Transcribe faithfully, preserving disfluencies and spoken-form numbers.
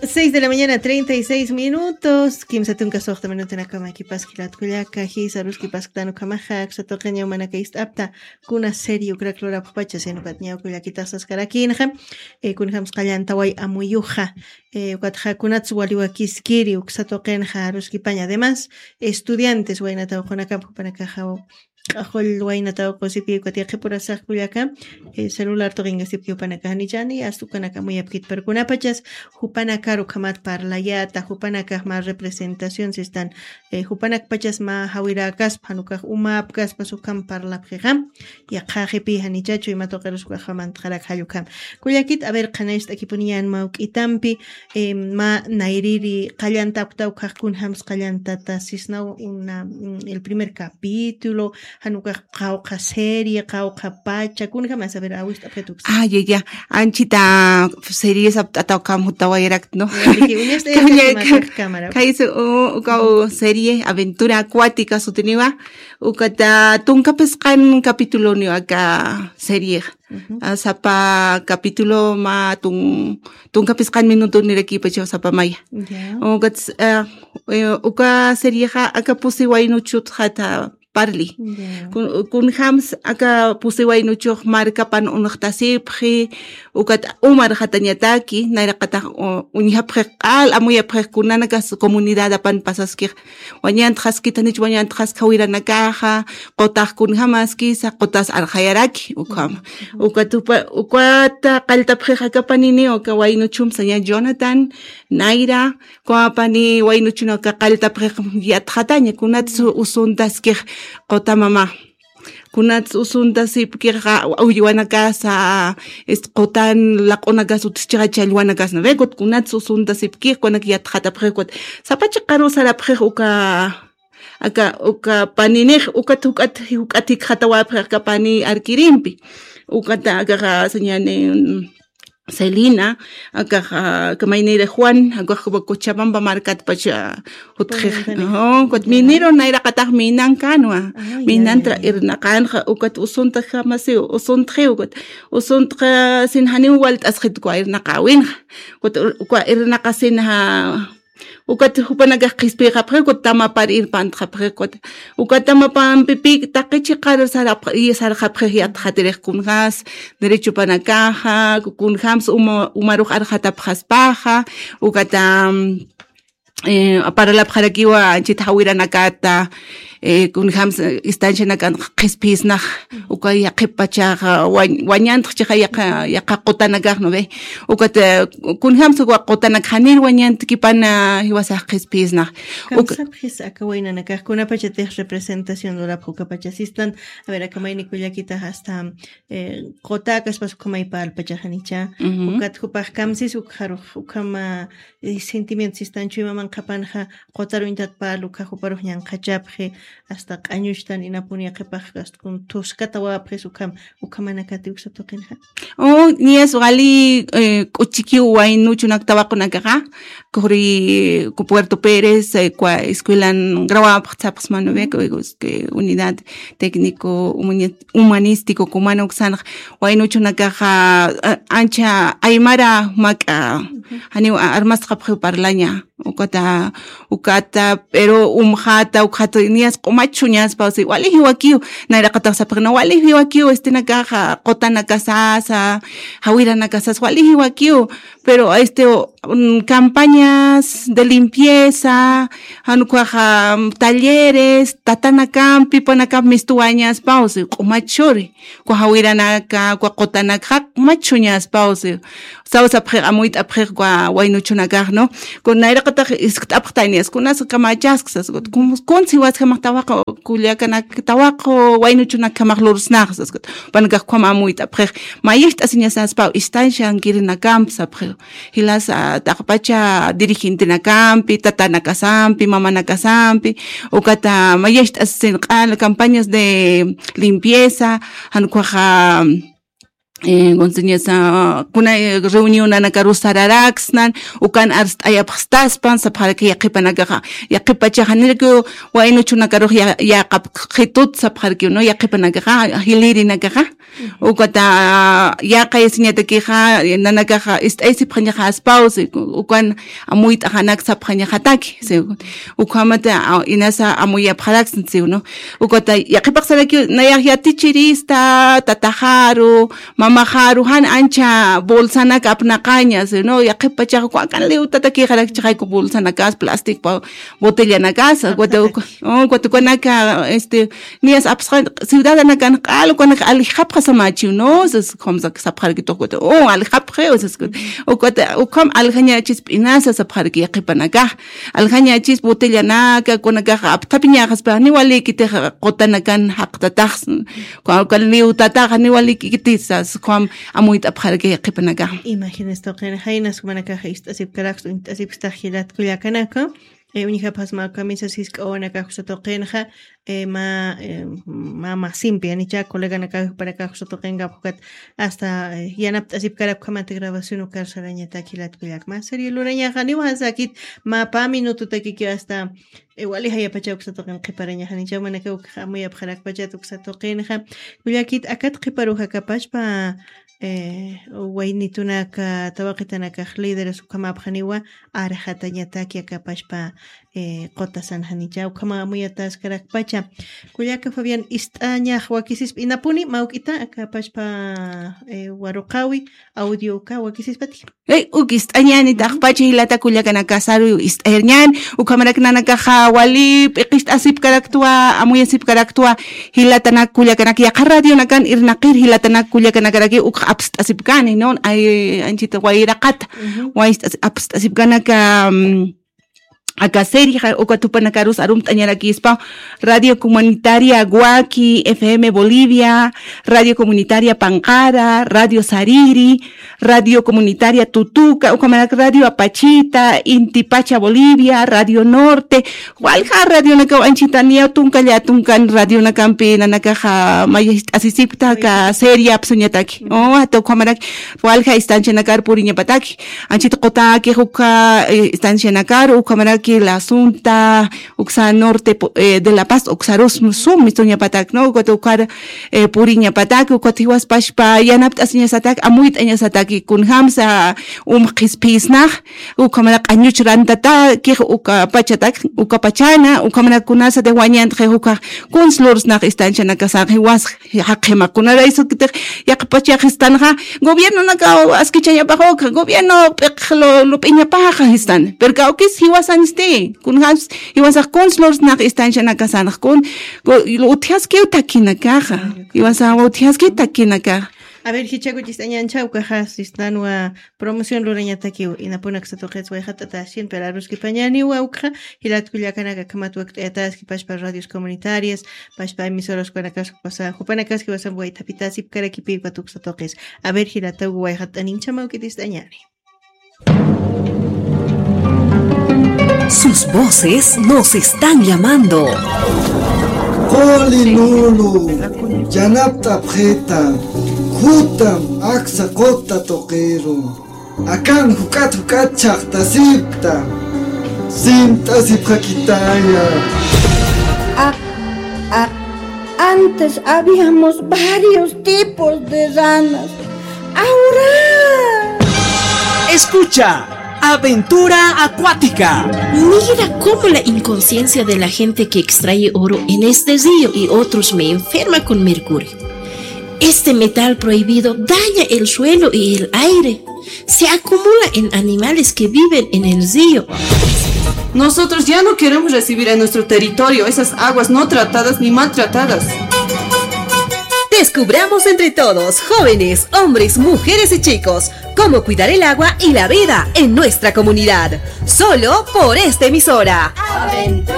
Seis de la mañana, treinta y seis minutos. Kimsa tunka suxta minutunakama kipas jilat kullaka, jisa aruskipasktan ukhamaxa, aksa tuqin ñawmanaka ist'apta, kuna serie ukrak lurapxpacha, sino ukat ñaw kullakitax saskarakinxa, eh, kunjams qallantaway amuyuxa, eh, ukatxa kunats waliwakiskiri, uksa tuqinxa aruskipaña. Además, estudiantes waynataw qunakam jupanakaxa, q'axull waynataw qusipi ukat yaqhipurasax kullaka, eh, celular tuqingasipki jupanaka janichani, hasta ukanaka amuyapkit, pero kunapachas jupanakar ukhamat parlayata, jupanakax mä representación sistan, eh, jupanakpachas mä jawirakaspa, jan ukax umapkaspas ukham parlapxixa, yaqhaxipi janichachu ima tuqirus ukaxamantxarak jall ukham. Kullakit, a ver, qhanacht'akipuniyan mä juk'itampi, eh, mä nayriri qallantapkta ukax kunjams qallantata sisnaw una, mm, el primer capítulo, jan ukax qawqha serie, qawqha pacha, kunjamas, a ver, awist'apxit uksa. Ah, ya, ya. Anchita series apt'ataw ukham jutawayarakt, ¿no? Ya, dije, uñas de Kanya- esta que más cámara. Kaysa, u-, ukaw serie Aventura Acuática sutiniwa, ukata tunka phisqan capituloniwa aka serie. Ujú. Ah, sapa capítulo mä tun-, tunka phisqan minuto nirakipachaw sapa maya. Ya. Ukat, ah, eh, uka seriexa aka pusi waynuchutxata parli. Ya. Kun-, kunjams aka pusi waynuchux markapan unxtasipxi, ukat umarxatañataki, nayraqatax u-, uñjapxix q'al, amuyapxix kunanakas comunidadapan pasaskix. Wañantxaskit, janich wañantxaski jawiranakaxa, qutax kunjamaskisa, qutas arxayaraki, ukhama. Ujú. Ukat upa-, ukata qalltapxix aka panini, uka waynuchum saña Jonathan, Nayra, uka pani waynuchuna uka qalltapxix yatxataña, kunats usuntaskix quta mama. Kunats usuntasipkixa, uywanakasa, este, qutan laq'unakas utjchixa challwanakas, ¿no ve? Kut-, kunats usuntasipkix, kunak yatxatapxix, kut-, sapa chiqaru sarapxix uka, aka, uka paninix, ukat juk'at, juk'at jikxatawapxix aka pani arkirimpi. Ukat akaxa, sañani, mm, Celina, akax, ah, kamayniri Juan, akax Cochabamba markatpach, ah, jutxix. Pueblo Antonio. Oh, kut Ya. Minero, nayraqatax minankanwa. Ah, ya, Minantra ya, ya. Irnaqanxa, ukat usunta jamasiw, usuntxiw, ukat usuntxa sin janiw walt'asxit uka irnaqawinxa. Ukat ur-, uka irnaqa sin ja, ukat jupanakax qhispiyxapxi, ukat tamapar irpantxapxi, ukat Uka tamapampipï taqi chiqar sarapx-, y sarxapxix yatxatirix kunjäs, derechopanakaxa, kunjämsa uma-, umarux arxatapxaspaxa, ukata, eh, paralapxarakiwa anchhit jawiranakata, eh, kunjämsa, eh, estancianakan qhispiyisnax, uka yaqhip pachaxa, wañ-, wañantx chiqa yaqa, yaqa qutanakax, ¿no ve? Ukat, eh, kunjämsa uka qutanak janir wañantkipana jiwasax qhispiyisnax. Uka Kamsapxis aka waynanakax kunapachatix representación lurapx ukapacha sistan, a ver, aka mayni kullakitax hasta, eh, quta akaspas ukhamay parlpachaxanicha. Ujú. Ukat jupax kamsis ukxarux, ukhama, eh, sentimiento sistanchu ima manqhapanxa, qutar uñtat parl ukxa juparux ñanqhachapxi, hasta q'añuchtan inapuni yaqhipax, hasta kun thuskatawapxis ukham, ukhamanakati uksa tuqinxa. Oh, niyas wali, eh, k'uchikiw waynuchunak tawaqunakaxa, kuri ku Puerto Pérez, eh, kwa escuelan grabapxsapxsmanu, ve, ku, ku, que unidad técnico humani-, humanístico, kumana uksanx, waynuchunakaxa, eh, ancha aymara mak'a, janiw a-, armasxapxiw parlaña. Ukata, ukata, pero umxata, ukxata, niyas q'umach uñaspa, o sea, wali jiwakiw, nayraqatax sapxina, wali jiwakiw, este, nakaxa, qutanakasasa, jawiranakasas, wali jiwakiw, pero, este, mm, campañas de limpieza, jan ukhaxa, mm, talleres, tatanakampi, panakampi mistuwañaspa, o sea, q'umach churi. Kwa jawiranaka, kwa qutanakxa, q'umach uñaspa, o sea, sawsapxix, amuyt'apxix, kwa waynuchunakax, ¿no? Kun nayraqatax iskt'apxtañas, kunas kamachasksas, kun, kun siwaskamax tawaq, kullakanak tawaq, waynuchunakjamax lursnaxsas, kun. Panakax ukham amuyt'apxix, mayicht'asiñasaspa, estanciankirinakampsapxix. Jilas, ah, taqpacha dirigentenakampi, tatanakasampi, mamanakasampi, ukata mayicht'asisin q'al campañas de limpieza, jan ukhaxa, eh, kunsiñasa, kuna, eh, reunión nanakarus sararaksnan, ukan arst'ayapxstaspan, sapxaraki yaqhipanakaxa, yaqhipachaxa, nirki waynuchunakarux ya-, yaqapxitut, sapxaraki, ¿no? Yaqhipanakaxa, jilirinakaxa, ukata, yaqayasiñatakixa, nanakaxa, ist'ayasipxañaxa aspaw, si, ukan amuyt'axanak sapxañaxataki, si, ukhamata, a, inasa amuyapxaraksna, si, ¿no? Ukata, yaqhipax saraki, nayax yatichirista, tataxaru, mamaxaru, jan ancha bolsanak apnaqaña, si, ¿no? Yaqhipachax, uka akan liwtatakixarakchaxayku bolsanakas, plástico, botellanakasa, ukat, ukat ukanaka, este, niyas apsqa, ciudadanakan q'al, ukanaka aljapxasamachiw, ¿no? Sas, ukham sak sapxarakitux, ukat, o, aljapxi, o, sas, ukat, ukham aljañachis p'inasa sapxaraki yaqhipanaka. Aljañachis botellanaka, ukanakax apthapiñaxaspa, niwalikitix qutanakan jaqtatax, uka, uka liwtatax, niwalikitisa, ukham amuyt'apxaraki yaqhipanaka. Imagínese tuqin, jaynas jumanakax ist'asipkaraks, uñt'asipkstax jilat kullakanaka. Eh, uñjapxasma kamisas jisk'awanakax uksa tuqinxa, eh, mä, eh, mä masimpi, janicha coleganakax jupanakax uksa tuqinkax ukat hasta, eh, yanapt'asipkarapkxamati grabación ukar sarañatak jilat kullaka. Mä serio lurañaxa, niwa jasakit, mä pä minutotakikiw hasta, eh, wali jayapacha uksa tuqin qhiparañaxa, janicha jumanakax ukxa amuyapxarakpachat uksa tuqinxa. Kullakit, akat qhiparuxa akapachpa, eh, waynitunaka, tawaqitanakax líderes ukhamäpxaniwa, arxatañataki akapachpa, eh, qutasan janicha, ukhama amuyataskarakpacha. Kullaka Fabián, ist'añax wakisispa, inapuni mawk'ita akapachpa, eh, waruqawi, audio uka wakisispati. Eh, uk ist'añäni, taqpacha jilata kullakanakasaru ist'ayarñän, ukhamarak nanakaxa wali p'iqist'asipkaraktwa, amuyasipkaraktwa, jilatanak kullakanak yaqha radionakan irnaqir jilatanak kullakanakarakiw uk apst'asipkani, ¿no? Ay, anchita wayraqata, ujú, wayst'as-, apst'asipkanaka, mm, aka serie, ja, uka tupanakarus arumt'añarakispa, Radio Comunitaria Waki, F M Bolivia, Radio Comunitaria Panqara, Radio Sariri, Radio Comunitaria Tutuka, ukhamarak Radio Apachita, Inti Pacha Bolivia, Radio Norte, walja radionakaw anchita niya tunka llatunkan radionakampi nanakaxa mayist'asisipkta aka serie apsuñataki. O, ata ukhamarak walja estancianakar puriñapataki. Anchita qutakix uka, eh, estancianakar, ukhamaraki La Asunta, uksa norte, po-, eh, de La Paz, uksarus sum mist'uñapatak, ¿no? Ukat ukar, eh, puriñapatak, ukat jiwaspachpa yanapt'asiñasatak, amuyt'añasatak, kunjamsa umxqisphisnax, ukhamara q'añuch rantatakix uka pachatak, uka pachana, ukhamara kunasa de wañantxix uka kuns lursnax estancianakasax jiwas jaqima kunaraysukitix yaqpachaxistanxa, gobiernonakaw askichañapax ukxa, gobierno p'iq lu-, lup'iñapaxa jistan. Pero kawkis jiwasansti, kunjams jiwasax kuns lursnax estancianakasanx kun, go-, utjaskiw takinakaxa. Jiwasax utjaskiw takinakaxa. A ver, jichhakuchist'añäni, ukaxa sistanwa promoción lurañatakiw, inapuni uksa tuqits wayjat'atasin, pero aruskipañäniwa ukxa, jilat kullakanaka, akhamat wakt'ayataski pachpa radios comunitarias, pachpa emisoras ukanakax, jupanakaski jiwasamp waythapitasipkarakipï ukat uksa tuqis. A ver, jilataw wayjat'aninchama ukitist'añäni. Sus voces nos están llamando. Quli lulu, yanapt'apxita, khutam aksa quta tuqiru. Akan juk'at juk'at chhaqtasipkta, simt'asipxakitaya. Ah, ah, antes habíamos varios tipos de ranas. Ahora. Escucha, Aventura Acuática. Mira cómo la inconsciencia de la gente que extrae oro en este río y otros me enferma con mercurio. Este metal prohibido daña el suelo y el aire. Se acumula en animales que viven en el río. Nosotros ya no queremos recibir en nuestro territorio esas aguas no tratadas ni maltratadas. Descubramos entre todos, jóvenes, hombres, mujeres y chicos, cómo cuidar el agua y la vida en nuestra comunidad. Solo por esta emisora. Aventura